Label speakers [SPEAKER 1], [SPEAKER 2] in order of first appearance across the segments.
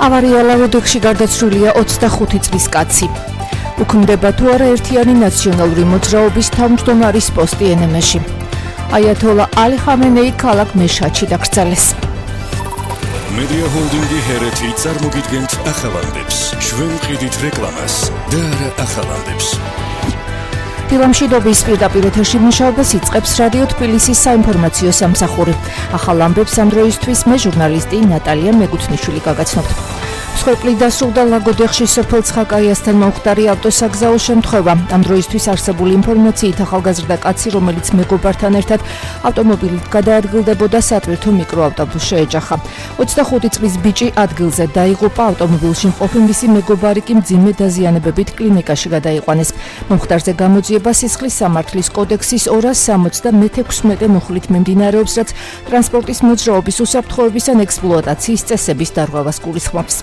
[SPEAKER 1] ავარიალავ ოდექში გარდაცვლილია 25 წლის კაცი. უქმდება თუ არა ერთიანი ნაციონალური მოძრაობის თავმჯდომარის პოსტი ენემეში. აიათოლა ალი ხამენეი ქალაქ მეშჰადში დაკრძალეს.
[SPEAKER 2] მედია ჰოლდინგი ჰერეთი წარმოგიდგენთ ახალამდებს. ჩვენ ვყიდით რეკლამას და არა ახალამდებს.
[SPEAKER 1] ფილმშიდობის პირდაპირ ეთერში მუშაობას იწყებს რადიო თბილისის საინფორმაციო სამსახური. ახალ ამბებს ამ დროისთვის მე ჟურნალისტი ნატალია მეგუთნიშვილი გაგაცნობთ. მსხვერპლი დასრულდა ლაგოდეხში სოფელ ცხაკაიასთან მომხდარი ავტოსაგზაო შემთხვევა. ამ დროისთვის არსებული ინფორმაციით ახალგაზრდა კაცი, რომელიც მეგობართან ერთად ავტომობილით გადაადგილდებოდა, სატვირთო მიკროავტობუსს შეეჯახა. 25 წლის ბიჭი ადგილზე დაიღუპა, ავტომობილში მყოფი მისი მეგობარი კი მძიმე დაზიანებებით კლინიკაში გადაიყვანეს. მომხდარზე გამოძიება სისხლის სამართლის კოდექსის 276 მუხლით მიმდინარეობს, რაც ტრანსპორტის მოძრაობის უსაფრთხოების ან ექსპლუატაციის წესების დარღვევას გულისხმობს.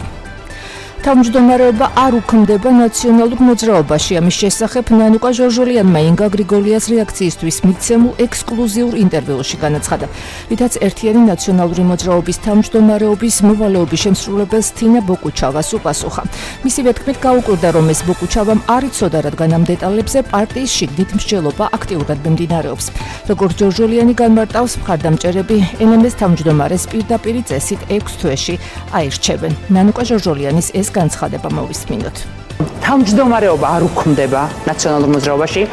[SPEAKER 1] თავმჯდომარეობა არ უქმდება ნაციონალურ მოძრაობაში. ამის შესახებ ნანუკა ჟორჟოლიანმა ინგა გრიგოლიას რეაქციისთვის მიცემულ ექსკლუზიურ ინტერვიუში განაცხადა, რითაც ერთიანი ნაციონალური მოძრაობის თავმჯდომარეობის მოვალეობის შემსრულებელს თინა ბოკუჩავას უპასუხა. მისივე თქმით გაუკვირდა, რომ ეს ბოკუჩავამ არ იცოდა, რადგან ამ დეტალებზე პარტიის შიგნით მსჯელობა აქტიურად მიმდინარეობს. როგორც ჟორჟოლიანი განმარტავს, მხარდამჭერები ენემეს თავმჯდომარეს პირდაპირი წესით 6 თვეში აირჩევენ. ნანუკა ჟორჟოლიანის ეს განცხადება მოვისმინოთ.
[SPEAKER 3] თავმჯდომარეობა არ უქმდება ნაციონალურ მოძრაობაში.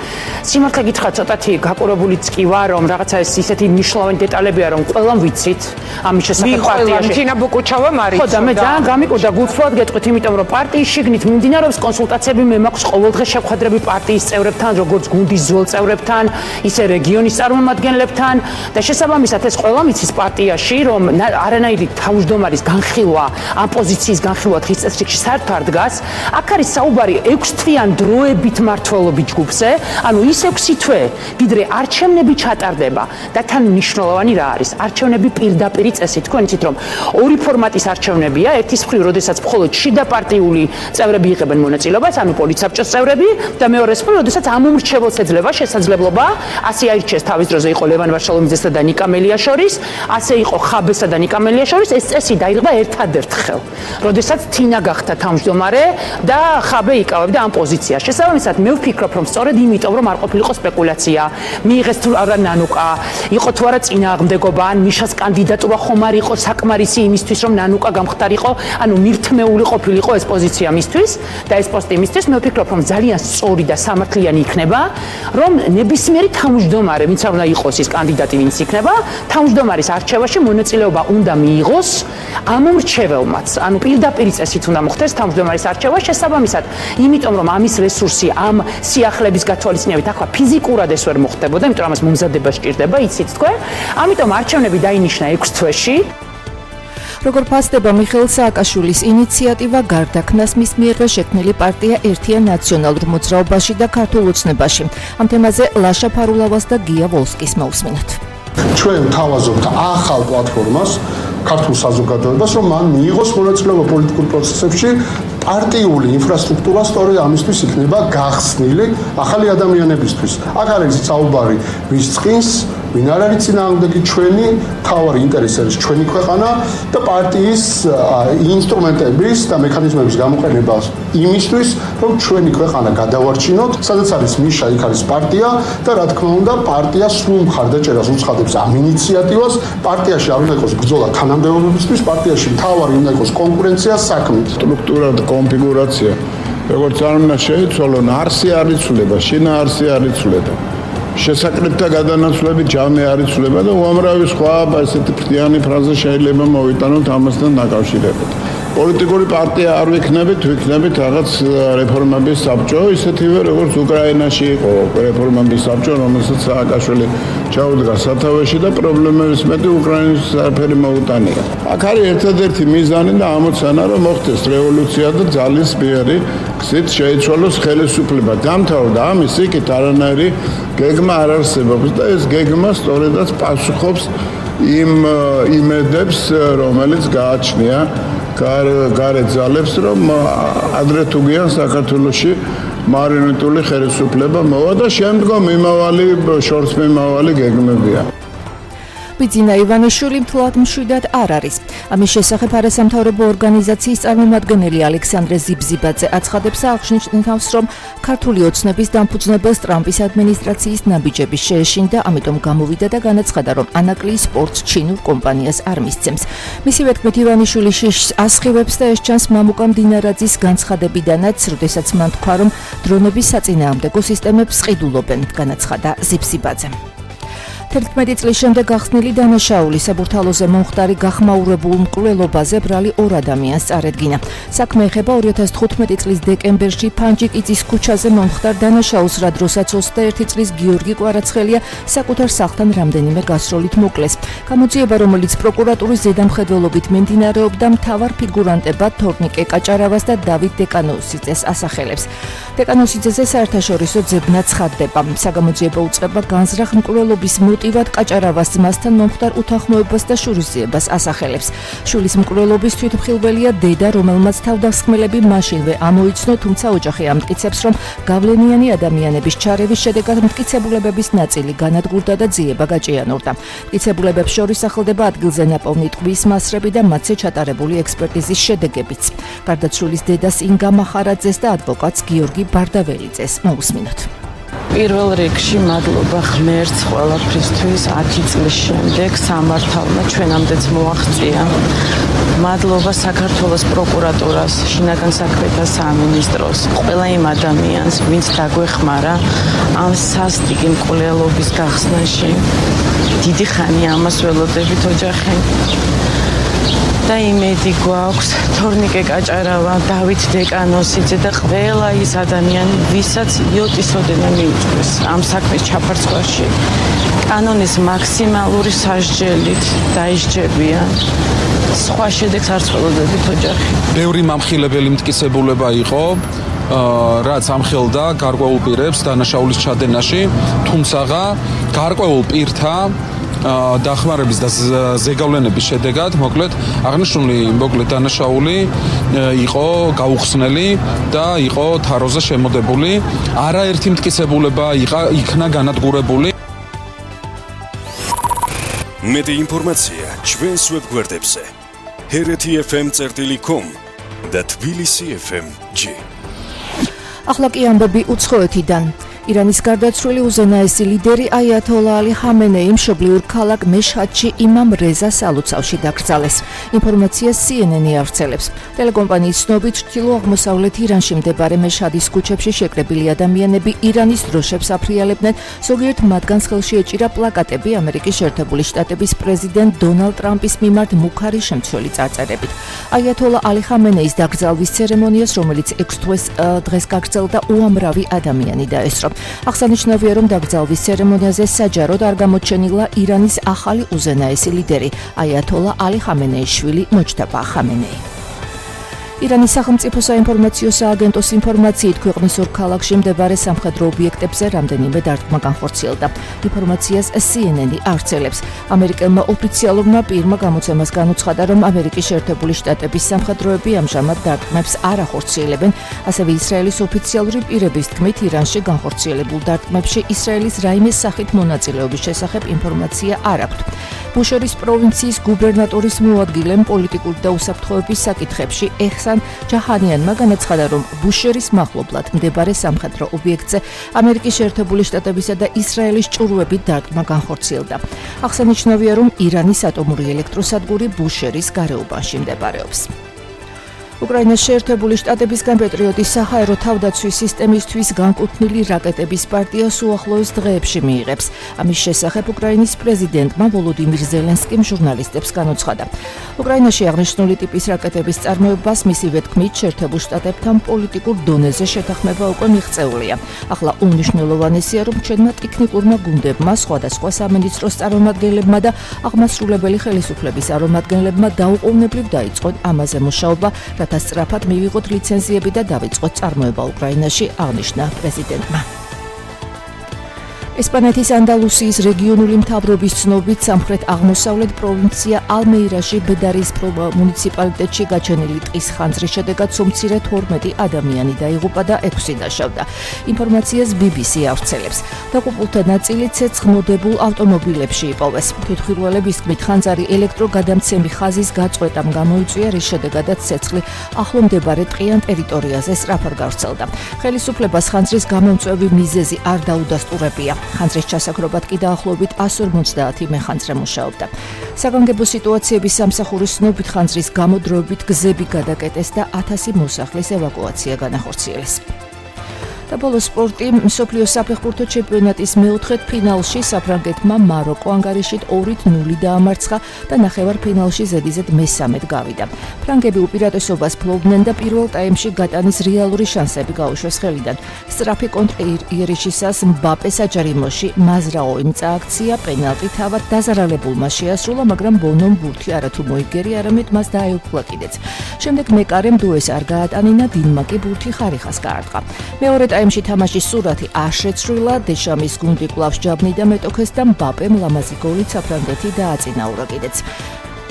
[SPEAKER 3] სიმართლე გითხრათ, ცოტათი გაკურებულიც კი ვარ, რომ რაღაცა ისეთი მნიშვნელოვანი დეტალებია, რომ ყველამ ვიცით ამის შესახებ პარტიაში. თინა ბოკუჩავამ არის. ხო და მე ძალიან გამიკვირდა გულწრფელად გეტყვით, იმიტომ რომ პარტიის შიგნით მიმდინარეობს კონსულტაციები, მე მაქვს ყოველდღე შეხვედრები პარტიის წევრებთან, როგორც გუნდის ძველ წევრებთან, ისე რეგიონის წარმომადგენლებთან და შესაბამისად ეს ყველამ იცის პარტიაში, რომ არანაირი თავმჯდომარის განხილვა, ამ პოზიციის განხილვა დღის წესრიგში საერთოდ არ დგას. აქ არის საუბარი 6 თვიან დროებით მმართველობის ჯგუფზე, ანუ ის 6 თვე, ვიდრე არჩევნები ჩატარდება და თან მნიშვნელოვანი რა არის? არჩევნები პირდაპირი წესით. თქვენ იცით, რომ ორი ფორმატის არჩევნებია, ერთის მხრივ, როდესაც მხოლოდ შიდა პარტიული წევრები იღებენ მონაწილეობას, ანუ პოლიცსაბჭოს წევრები და მეორეს მხრივ, როდესაც ამომრჩეველს ეძლევა შესაძლებლობა, ასე აირჩიეს თავის დროზე იყო ლევან ვარშალომიძესა და ნიკა მელიაშორის, ასე იყო ხაბესა და ნიკა მელიაშორის, ეს წესი დაირღვა ერთადერთხელ, როდესაც თინა გახდა თავმჯდომარე და ხაბე იკავებდა ამ პოზიციას. შესაბამისად, მე ვფიქრობ, რომ სწორედ იმიტომ, რომ არ ყოფილიყო სპეკულაცია, მიიღეს თუ არა ნანუკა, იყო თუ არა წინააღმდეგობა, ან მიშას კანდიდატურა ხომ არ იყო საკმარისი იმისთვის, რომ ნანუკა გამხდარიყო, ანუ მირთმეული ყოფილიყო ეს პოზიცია მისთვის და ეს პოსტი მისთვის, მე ვფიქრობ, რომ ძალიან სწორი და სამართლიანი იქნება, რომ ნებისმიერი თავმჯდომარე, ვინც არ უნდა იყოს ის კანდიდატი, ვინც იქნება, თავმჯდომარის არჩევაში მონაწილეობა უნდა მიიღოს ამომრჩეველმაც, ანუ პირდაპირი წესით უნდა მოხდეს თავმჯდომარის არჩევა. შესაბამისად, იმიტომ რომ ამის რესურსი ამ სიახლეების გათვალისწინებით ახლა ფიზიკურად ეს ვერ მოხდებოდა, იმიტომ რომ ამას მომზადება სჭირდება, იცით თქვენ. ამიტომ არჩევნები დაინიშნა 6 თვეში.
[SPEAKER 1] როგორ ფასდება მიხეილ სააკაშვილის ინიციატივა გარდაქმნას მის მიერვე შექმნილი პარტია ერთიან ნაციონალურ მოძრაობაში და ქართულ ოცნებაში. ამ თემაზე ლაშა ფარულავას და გია ვოლსკის მოусმინოთ.
[SPEAKER 4] ჩვენ თავაზობთ ახალ პლატფორმას ქართულ საზოგადოებას, რომ მან მიიღოს მონაწილეობა პოლიტიკურ პროცესებში. პარტიული ინფრასტრუქტურა სწორედ ამისთვის იქნება გახსნილი ახალი ადამიანებისთვის. აქ არის საუბარი ვის წყინს, ვინ არ არის წინააღმდეგი, ჩვენი მთავარი ინტერესი არის ჩვენი ქვეყანა და პარტიის ინსტრუმენტების და მექანიზმების გამოყენება იმისთვის, რომ ჩვენი ქვეყანა გადავარჩინოთ, სადაც არის მიშა, იქ არის პარტია და რა თქმა უნდა, პარტია სრულ მხარდაჭერას უცხადებს ამ ინიციატივას. პარტიაში არ უნდა იყოს ბრძოლა თანამდებობებისთვის, პარტიაში მთავარი უნდა იყოს კონკურენცია საქმით.
[SPEAKER 5] სტრუქტურა და კონფიგურაცია, როგორც არ უნდა შეიცვალონ, არსი არ იცვლება, შინაარსი არ იცვლება. შესაკრებთა გადანაცვლები ჯამე არ იცვლება და უამრავი სხვა ესეთი ფრთიანი ფრაზა შეიძლება მოვიტანოთ ამასთან დაკავშირებით. პოლიტიკური პარტია არ ვიქნებით, ვიქნებით რაღაც რეფორმების საბჭო, ისეთივე როგორც უკრაინაში იყო რეფორმების საბჭო, რომელსაც სააკაშვილი ჩაუდგა სათავეში და პრობლემების მეტი უკრაინის არაფერი მოუტანია. აქ არის ერთადერთი მიზანი და ამოცანა, რომ მოხდეს რევოლუცია და ძალისმიერი გზით შეიცვალოს ხელისუფლება. დამთავრდა ამის იქით არანაირი გეგმა არ არსებობს და ეს გეგმა სწორედაც პასუხობს იმ იმედებს, რომელიც გააჩნია გარეთ ძალებს, რომ ადრე თუ გიან საქართველოში მარიონეტული ხელისუფლება მოვა და შემდგომ იმავალი შორს მიმავალი გეგმებია.
[SPEAKER 1] ბიძინა ივანიშვილი მთლად მშვიდად არ არის. ამის შესახებ არასამთავრობო ორგანიზაციის წარმომადგენელი ალექსანდრე ზიბზიბაძე აცხადებს და აღნიშნავს, რომ ქართული ოცნების დამფუძნებელს ტრამპის ადმინისტრაციის ნაბიჯები შეეშინდა, ამიტომ გამოვიდა და განაცხადა, რომ ანაკლიის სპორტს ჩინურ კომპანიას არ მისცემს. მისივე თქმით, ივანიშვილი შიშს ასხივებს და ეს ჩანს მამუკა მდინარაძის განცხადებიდანაც, როდესაც მან თქვა, რომ დრონების საწინააღმდეგო სისტემებს ყიდულობენ, განაცხადა ზიბზიბაძე. 11 წლის შემდეგ გახსნილი დანაშაული საბურთალოზე მომხდარი გახმაურებულ მკვლელობაზე ბრალი 2 ადამიანს წარედგინა. საქმე ეხება 2015 წლის დეკემბერში ფანჯიკიძის ქუჩაზე მომხდარ დანაშაულს, რა დროსაც 21 წლის გიორგი კვარაცხელია საკუთარ სახლთან რამდენიმე გასროლით მოკლეს. გამოძიება, რომელიც პროკურატურის ზედამხედველობით მიმდინარეობდა, მთავარ ფიგურანტებად თორნიკე კაჭარავას და დავით დეკანოსიძეს ასახელებს. დეკანოსიძეზე საერთაშორისო ძებნა ცხადდება. საგამოძიებო უწყება განზრახ მკვლელობის მოტივად კაჭარავას ძმასთან მომხდარ უთანხმოებას და შურისძიებას ასახელებს. შულის მკვლელობის თვითმხილველია დედა, რომელმაც თავდასხმელები მაშინვე ამოიცნო, თუმცა ოჯახი ამტკიცებს, რომ გავლენიანი ადამიანების ჩარევის შედეგად მტკიცებულებების ნაწილი განადგურდა და ძიება გაჭიანურდა. მტკიცებულებებს შორის სახელდება ადგილზე ნაპოვნი ტყვის მასრები და მათზე ჩატარებული ექსპერტიზის შედეგებიც. გარდაცვლილის დედას ინგა მახარაძეს და ადვოკატს გიორგი ბარდაველიძეს მოусმინოთ.
[SPEAKER 6] პირველ რიგში მადლობა ღმერთს ყველაფრისთვის 10 წლის შემდეგ სამართალმა ჩვენამდეც მოაღწია. მადლობა საქართველოს პროკურატურას, შინაგან საქმეთა სამინისტროს, ყველა იმ ადამიანს, ვინც დაგვეხმარა ამ სასტიკი მკვლელობის გახსნაში. დიდი ხანია ამას ველოდებით ოჯახი. და იმედი გვაქვს თორნიკე კაჭარავა, დავით დეკანოსიძე და ყველა ის ადამიანი, ვისაც იოტისოდენა მიუწვეს ამ საქმის ჩაფარცხვაში, კანონის მაქსიმალური სასჯელით დაისჯებიან. სხვა შედეგს არ ცდილობდებით ოჯახი.
[SPEAKER 7] ბევრი მამხილებელი მტკიცებულება იყო, რაც ამხელდა გარკვეულ პირებს დანაშაულის ჩადენაში, თუმცა გარკვეულ პირთა დახმარების და ზეგავლენების შედეგად მოკლედ აღნიშნული დანაშაული იყო გაუხსნელი და იყო თაროზე შემოდებული. არაერთი მტკიცებულება იქნა განადგურებული.
[SPEAKER 2] მეტი ინფორმაცია ჩვენს ვებგვერდებზე hereti.fm.com და tbilisi.fm.g.
[SPEAKER 1] ახლა კი ამბები უცხოეთიდან. ირანის გარდაცვლილი უზენაესი ლიდერი აიათოლა ალი ხამენეი მშობლიურ ქალაქ მეშჰადში იმამ რეზა სალოცავში დაკრძალეს. ინფორმაციას CNN-ი ავრცელებს. ტელეკომპანიის ცნობით, ჩრდილო-აღმოსავლეთ ირანში მდებარე მეშჰადის ქუჩებში შეკრებილი ადამიანები ირანის დროშებს აფრიალებდნენ, ზოგიერთ მათგანს ხელში ეჭირა პლაკატები ამერიკის შეერთებული შტატების პრეზიდენტ დონალდ ტრამპის მიმართ მუქარი შემცველი წარწერებით. აიათოლა ალი ხამენეის დაკრძალვის ცერემონიას, რომელიც 6 დღეს გაგრძელდა, უამრავი ადამიანი დაესწრო. აღსანიშნავია, რომ დაკრძალვის ცერემონიაზე საჯაროდ არ გამოჩენილა ირანის ახალი უზენაესი ლიდერი აიათოლა ალი ხამენეის შვილი მოჯტაბა ხამენეი. ირანის სახელმწიფო საინფორმაციო სააგენტოს ინფორმაციით, ქვეყნის 2 ქალაქში მდებარე სამხედრო ობიექტებზე რამდენიმე დარტყმა განხორციელდა. ინფორმაციას CNN-ი ავრცელებს. ამერიკელმა ოფიციალურმა პირმა გამოცემას განუცხადა, რომ ამერიკის შეერთებული შტატების სამხედროები ამჟამად დარტყმებს არ ახორციელებენ. ასევე ისრაელის ოფიციალური პირების თქმით, ირანში განხორციელებულ დარტყმებში ისრაელის რაიმეს სახით მონაწილეობის შესახებ ინფორმაცია არ აქვთ. ბუშერის პროვინციის გუბერნატორის მოადგილემ პოლიტიკური და უსაფრთხოების საკითხებში ეჰსან ჯაჰანიანმა განაცხადა, რომ ბუშერის მახლობლად მდებარე სამხედრო ობიექტზე ამერიკის შეერთებული შტატებისა და ისრაელის ჭურვებით დარტყმა განხორციელდა. აღსანიშნავია, რომ ირანის ატომური ელექტროსადგური ბუშერის გარეუბანში მდებარეობს. უკრაინას შეერთებული შტატებისგან პეტრიოტის საჰაერო თავდაცვის სისტემისთვის განკუთვნილი რაკეტების პარტიას უახლოეს დღეებში მიიღებს. ამის შესახებ უკრაინის პრეზიდენტმა ვოლოდიმირ ზელენსკიმ ჟურნალისტებს განუცხადა. უკრაინაში აღნიშნული ტიპის რაკეტების წარმოებას მისივე თქმით შეერთებულ შტატებთან პოლიტიკურ დონეზე შეთანხმება უკვე მიღწეულია. ახლა უმნიშვნელოვანესია, რომ ჩვენმა ტექნიკურმა გუნდებმა, სხვადასხვა სამინისტროს წარმომადგენლებმა და აღმასრულებელი ხელისუფლების წარმომადგენლებმა დაუყოვნებლივ დაიწყონ ამაზე მუშაობა, რათა სწრაფად მივიღოთ ლიცენზიები და დავიწყოთ წარმოება უკრაინაში, აღნიშნა პრეზიდენტმა. ესპანეთის ანდალუსიის რეგიონული მთავრობის ცნობით სამხრეთ აღმოსავლეთ პროვინცია ალმეირაში ბედარის მუნიციპალიტეტში გაჩენილი ტყის ხანძრის შედეგად სულ მცირე 12 ადამიანი დაიღუპა და 6 დაშავდა. ინფორმაციას BBC ავრცელებს. დაღუპულთა ნაწილი ცეცხლმოდებულ ავტომობილებში იპოვეს. თვითმხილველების თქმით, ხანძარი ელექტროგადამცემი ხაზის გაწყვეტამ გამოიწვია, რის შედეგადაც ცეცხლი ახლო მდებარე ტყიან ტერიტორიაზე სწრაფად გავრცელდა. ხელისუფლებას ხანძრის გამომწვევი მიზეზი არ დაუდასტურებია. ხანძრის ჩასაქრობად კი დაახლოებით 150 მეხანძრე მუშაობდა. საგანგებო სიტუაციების სამსახურის ცნობით ხანძრის გამო დროებით გზები გადაკეტეს და 1000 მოსახლის ევაკუაცია განახორციელეს. და ბოლოს სპორტი, მსოფლიოს საფეხბურთო ჩემპიონატის მეოთხედ ფინალში საფრანგეთმა მაროკო ანგარიშით 2-0 დაამარცხა და ნახევარფინალში ზედიზედ მესამედ გავიდა. ფრანგები უპირატესობას ფლობდნენ და პირველ ტაიმში გატანის რეალური შანსები გაუშვეს ხელიდან. სწრაფი კონტრიერიშისას მბაპე საჯარიმოში მაზრაოვიმ წააქცია, პენალტი თავად დაზარალებულმა შეასრულა, მაგრამ ბონომ ბურთი არათუ მოიგერი, არამედ მას დაეუფლა კიდეც. შემდეგ მეკარემ დუეს არ გაატანინა, დინმა კი ბურთი ხარიხას გაარტყა. მეორე ტაიმში თამაშის სურათი არ შეცვლილა, დეშამის გუნდი კვლავ ჯაბნი და მეტოქეს და მბაპემ ლამაზი გოლით საფრანგეთი დააწინაურა კიდეც.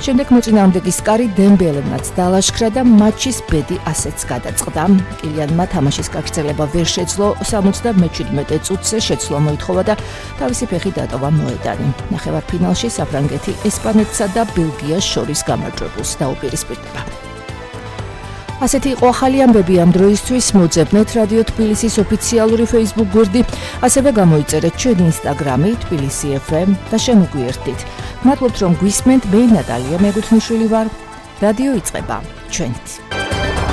[SPEAKER 1] შემდეგ მოწინააღმდეგის კარი დემბელემაც დალაშქრა და მატჩის ბედი ასეც გადაწყდა. კილიანმა თამაშის გაგრძელება ვერ შეძლო, 77 წუთზე შეცვლა მოითხოვა და თავისი ფეხი დატოვა მოედანი. ნახევარფინალში საფრანგეთი ესპანეთსა და ბელგიას შორის გამარჯვებულს დაუპირისპირდება. ასეთი იყო ახალი ამბები ამ დროისთვის. მოძებნეთ რადიო თბილისის ოფიციალური Facebook გვერდი, ასევე გამოიწერეთ ჩვენი Instagram-ი თბილისი FM და შემოგვიერთდით. მადლობთ რომ გვისმენთ, მე ნატალია მეგუთნიშვილი ვარ. რადიო იწყება ჩვენით.